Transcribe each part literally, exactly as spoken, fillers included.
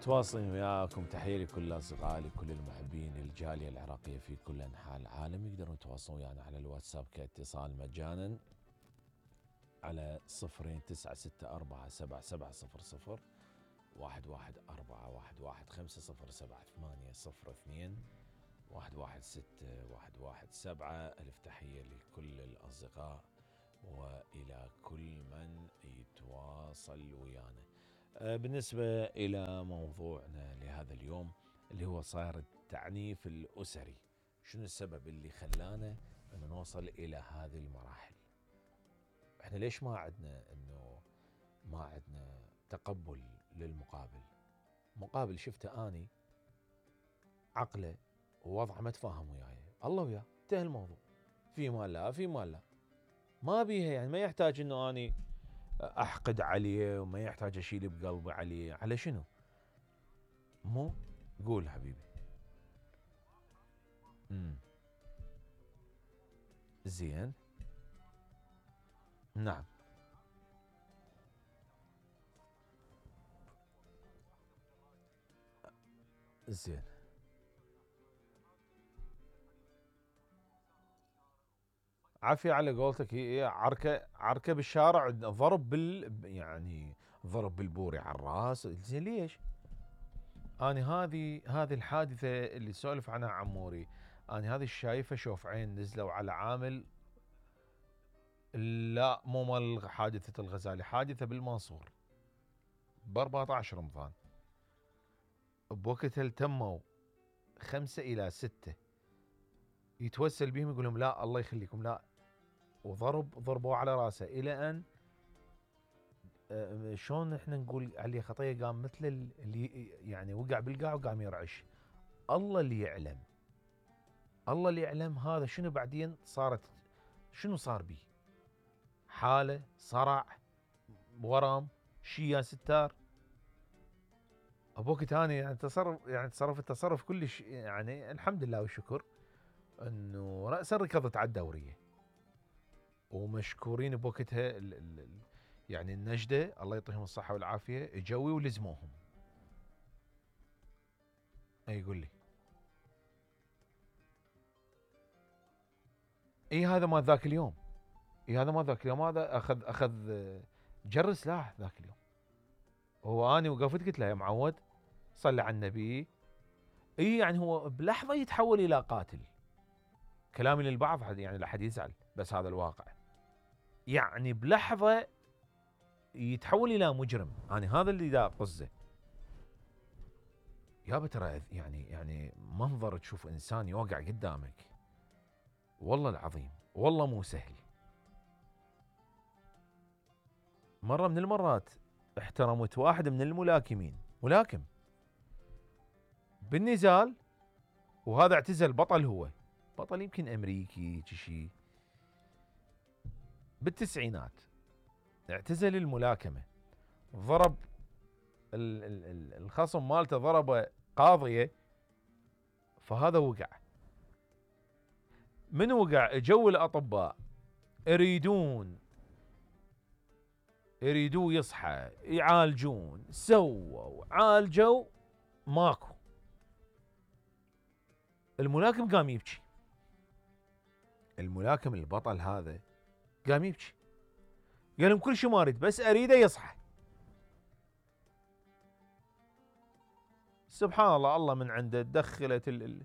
متواصلين وياكم. تحية لكل أصدقائي لكل المحبين الجالية العراقية في كل أنحاء العالم. يقدرون يتواصلون ويانا على الواتساب كاتصال مجانا على صفرين تسعة ستة أربعة سبعة سبعة صفر صفر واحد واحد أربعة واحد واحد خمسة صفر سبعة ثمانية صفر اثنين واحد واحد ستة واحد واحد سبعة. ألف تحية لكل الأصدقاء وإلى كل من يتواصل ويانا. بالنسبة إلى موضوعنا لهذا اليوم اللي هو صار التعنيف الأسري، شنو السبب اللي خلانا أن نوصل إلى هذه المراحل؟ إحنا ليش ما عندنا إنه ما عندنا تقبل للمقابل؟ مقابل شفته أني عقله ووضعه ما تفاهم وياي، الله وياه انتهى الموضوع، في مال لا في مال لا، ما بيها يعني، ما يحتاج إنه أني أحقد عليه وما يحتاج أشيل بقلبي عليه. على شنو؟ مو قول حبيبي. امم زين، نعم، زين، عافية على قولتك. هي عركة عركة بالشارع، ضرب بال يعني ضرب بالبوري على الراس. زين ليش؟ أنا هذه هذه الحادثة اللي سولف عنها عموري، أنا هذه الشايفة شوف عين نزلوا على عامل، لا مو مال حادثة الغزالي، حادثة بالمنصور ب أربعة عشر رمضان. بوقتها التموا خمسة إلى ستة يتوسل بهم يقول لهم لا الله يخليكم لا، وضرب ضربوا على راسه إلى أن شلون احنا نقول عليه خطيه، قام مثل اللي يعني وقع بالقاع وقام يرعش. الله اللي يعلم، الله اللي يعلم هذا شنو بعدين صارت، شنو صار بيه، حاله صرع ورم شي يا ستار. ابوك ثاني يعني تصرف يعني تصرف التصرف كلش يعني الحمد لله والشكر انه راسا ركضت على الدوريه، ومشكورين بوقتها يعني النجدة الله يعطيهم الصحة والعافية اجوا ولزموهم. اي يقول لي اي هذا ما ذاك اليوم، اي هذا ما ذاك اليوم، هذا اخذ اخذ جر سلاح ذاك اليوم. هو اني وقفت قلت له يا معود صلي على النبي. اي يعني هو بلحظة يتحول الى قاتل. كلامي للبعض يعني لا حد يزعل، بس هذا الواقع. يعني بلحظة يتحول الى مجرم. انا هذا اللي دا طزه يابا. ترى يعني يعني منظر تشوف انسان يوقع قدامك والله العظيم والله مو سهل. مرة من المرات احترمت واحد من الملاكمين، ملاكم بالنزال، وهذا اعتزل بطل، هو بطل يمكن امريكي شيء بالتسعينات، اعتزل الملاكمة، ضرب الخصم مالته ضربه قاضية، فهذا وقع. من وقع جو الأطباء يريدون يريدوه يصحى، يعالجون، سووا عالجوا، ماكو. الملاكم قام يبكي، الملاكم البطل هذا قام يبكي، قال لهم كل شيء ما اريد بس اريده يصحى. سبحان الله، الله من عنده دخلت ال ال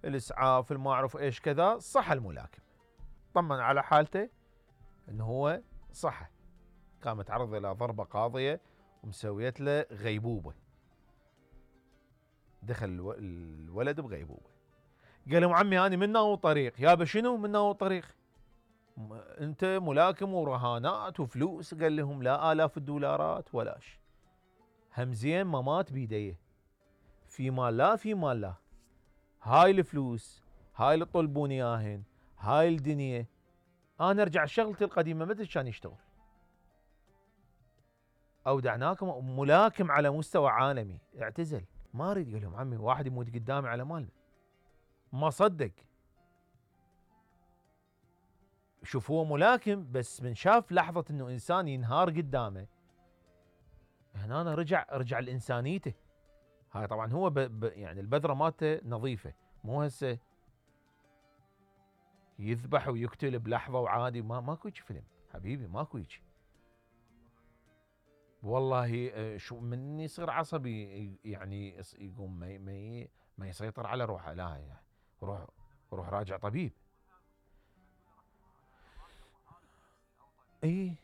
الاسعاف ما اعرف ايش كذا، صح الملاكم، طمن على حالته انه هو صحى. قامت عرض الى ضربه قاضيه ومسويت له غيبوبه، دخل الولد بغيبوبه. قال لهم عمي انا من ناو طريق. يابا شنو من ناو طريق؟ انت ملاكم ورهانات وفلوس. قال لهم لا آلاف الدولارات ولاش، همزين ما مات بيديه، في مال لا في مال لا، هاي الفلوس هاي اللي تطلبون اياهن، هاي الدنيا، انا ارجع شغلتي القديمه مثل كان يشتغل. اودعناكم ملاكم على مستوى عالمي، اعتزل ما اريد. قال لهم عمي واحد يموت قدامي على مالنا، ما صدق. شوف هو ملاكم بس من شاف لحظة انه انسان ينهار قدامه، هنا أنا رجع رجع لإنسانيته. هاي طبعا هو ب ب يعني البذره مالته نظيفه، مو هسه يذبح ويقتل بلحظه وعادي. ما ماكو هيك فيلم حبيبي، ماكو هيك. والله شو من يصير عصبي يعني يقوم ما ما ما يسيطر على روحه، لا يعني روح روح راجع طبيب. اي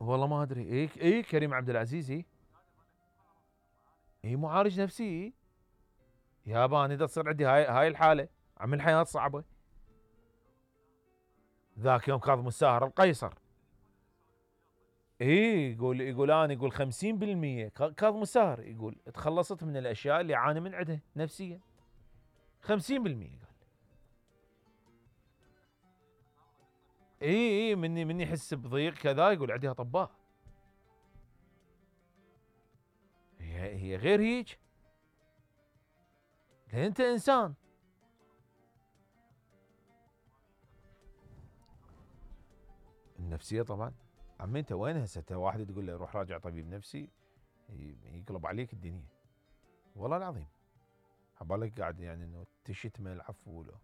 والله ما ادري. اي اي كريم عبد العزيز اي اي معالج نفسي. اي يابا انا اذا تصير عندي هاي هاي الحاله عم الحياه صعبه. ذاك يوم كاظم الساهر القيصر اي يقول يقول انا يقول خمسين بالمئة كاظم الساهر يقول تخلصت من الاشياء اللي عاني من عندها نفسيا. خمسين بالمئة قال. اي اي مني مني يحس بضيق كذا يقول عندي اطباء. هي هي غير هيك، لان انت انسان. النفسيه طبعا. عمي انت وين هسه؟ انت واحد تقول له روح راجع طبيب نفسي يقلب عليك الدنيا والله العظيم. حبالك قاعد يعني انه تشتمه العفو له.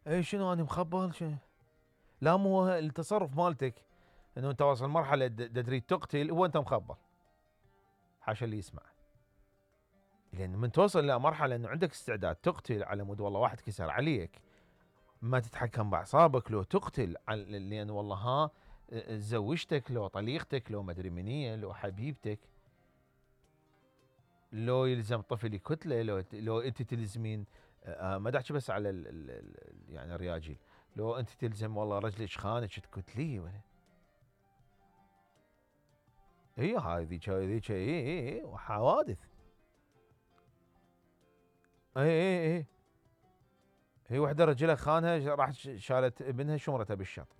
اي شنو انا مخبل شنو؟ لا مو التصرف مالتك انه انت واصل مرحله تريد تقتل، هو انت مخبل. حاشا اللي يسمع. لان من توصل الى مرحله انه عندك استعداد تقتل على مود والله واحد كسر عليك، ما تتحكم باعصابك، لو تقتل لان والله ها زوجتك، لو طليقتك، لو مدري منية، لو حبيبتك، لو يلزم طفل كتله، لو لو انت تلزمين آه ما احكي بس على ال ال يعني الرياجيل، لو انت تلزم والله رجلك خانك تكتليه ولا. اي هاي ذيك ذيك اي اي اي وحوادث. اي اي اي هي وحده رجلها خانها راح شالت ابنها شمرته بالشط.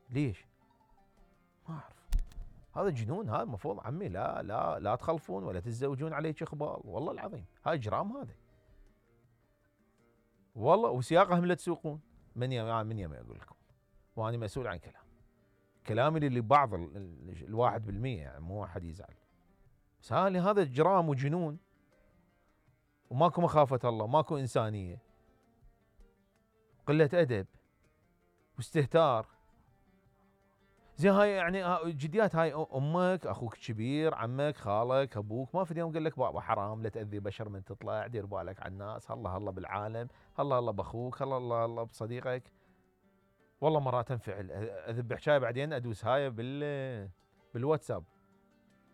ليش؟ ما اعرف. هذا جنون. هذا المفروض عمي لا لا لا تخلفون ولا تتزوجون عليك اخبال والله العظيم. هاي اجرام هذا والله. وسياقهم لا تسوقون. من يم من يم اقول لكم وانا مسؤول عن كلام كلامي اللي بعض الواحد بالمية يعني مو واحد يزعل. بس هذا اجرام وجنون وماكو مخافه الله، ماكو انسانيه، قله ادب واستهتار. زين هاي يعني جديات. هاي امك، اخوك الكبير، عمك، خالك، ابوك، ما في يوم قال لك بابا حرام لا تاذي بشر من تطلع، دير بالك على الناس، هلا هلا بالعالم، هلا هلا باخوك، هلا هلا هلا بصديقك. والله مرات انفعل اذب حكايه بعدين ادوس هاي بال بالواتساب.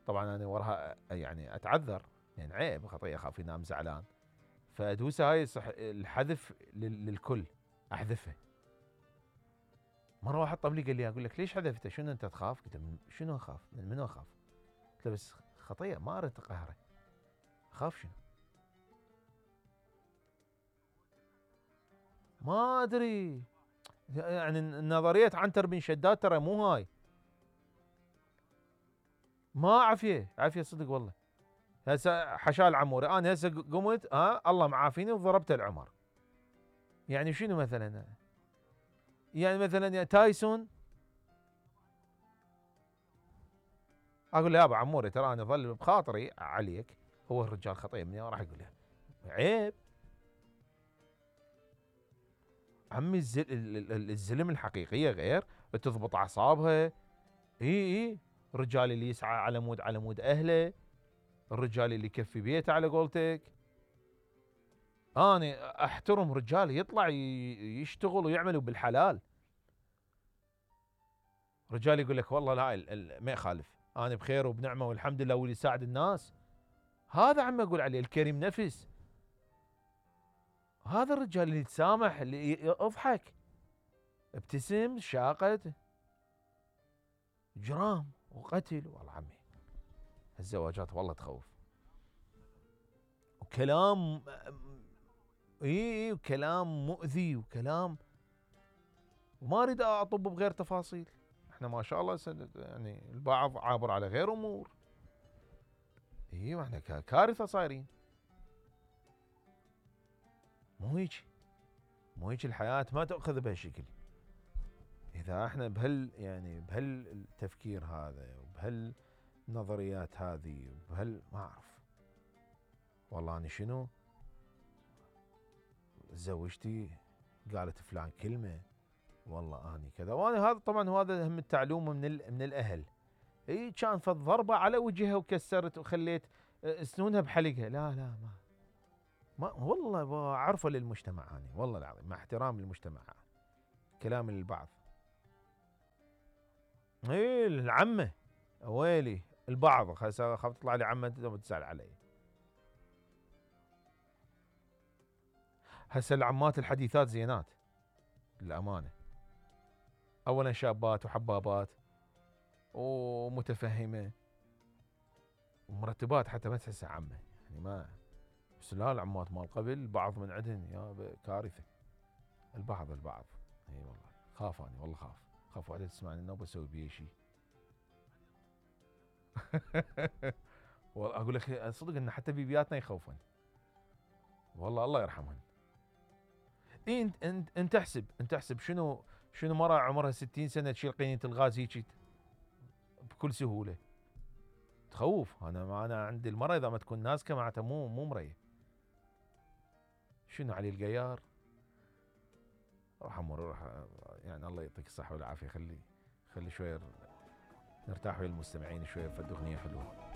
طبعا انا وراها يعني اتعذر يعني عيب خطيه، اخاف ينام زعلان، فادوس هاي صح الحذف للكل احذفه. مره واحد طب لي قال لي اقول لك ليش حذفته؟ شنو انت تخاف؟ قلت له شنو اخاف؟ من منو اخاف؟ قلت له بس خطيه ما اريد اقهره. اخاف شنو؟ ما ادري يعني نظريه عنتر بن شداد ترى مو هاي. ما عافيه عافيه صدق والله. هسه حشال عموري انا هسه قمت ها الله معافيني وضربت العمر. يعني شنو مثلا؟ يعني مثلا يعني تايسون اقول له يابا عموري ترى انا ظل بخاطري عليك، هو الرجال خطيه مني راح يقول له عيب. عمي الزلم الحقيقيه غير تضبط اعصابها. اي اي الرجال اللي يسعى على مود على مود اهله، الرجال اللي يكفي بيته على قولتك. انا احترم رجال يطلع يشتغل ويعملوا بالحلال. رجال يقول لك والله لا ما يخالف انا بخير وبنعمه والحمد لله واللي يساعد الناس. هذا عم اقول عليه الكريم نفس. هذا الرجال اللي يتسامح، اللي اضحك ابتسم شاقت. جرام وقتل والله عمي الزواجات والله تخوف. وكلام اي وكلام مؤذي وكلام، وما اريد اطب بغير تفاصيل. احنا ما شاء الله يعني البعض عابر على غير امور. اي احنا كارثه صايرين. مو هيك مو هيك الحياه ما تاخذ بهالشكل. اذا احنا بهال يعني بهالتفكير هذا وبهالنظريات هذه وبهال ما اعرف والله اني شنو زوجتي قالت فلان كلمه والله اني كذا، وانا هذا طبعا وهذا هم التعلومه من من الاهل. اي كان فض ضربه على وجهها وكسرت وخليت سنونها بحلقها، لا لا ما ما والله عرفه للمجتمع اني والله العظيم مع احترام للمجتمع كلام للبعض. اي العمه ويلي البعض خاف تطلع لي عمه تزعل علي. هسه العمات الحديثات زينات للامانه، اولا شابات وحبابات ومتفهمه ومرتبات حتى ما تحسها عمه يعني ما. بس لا العمات مال قبل البعض من عندهن يا كارثه. البعض البعض اي والله خاف اني والله خاف خاف واحده تسمعني انه بسوي بيه شيء. والله اقول لك صدق ان حتى بيبياتنا يخوفن والله الله يرحمهن. إيه انت انت انت احسب انت احسب شنو شنو مرة عمرها ستين سنة تشيل قينة الغاز هيك بكل سهولة تخوف. انا ما انا عندي المرة اذا ما تكون ناسكة معناتها مو مو مرية. شنو علي القيار روح امر روح يعني الله يعطيك الصحة والعافية. خلي خلي شوية نرتاح ويا المستمعين شوية فد اغنية حلوة.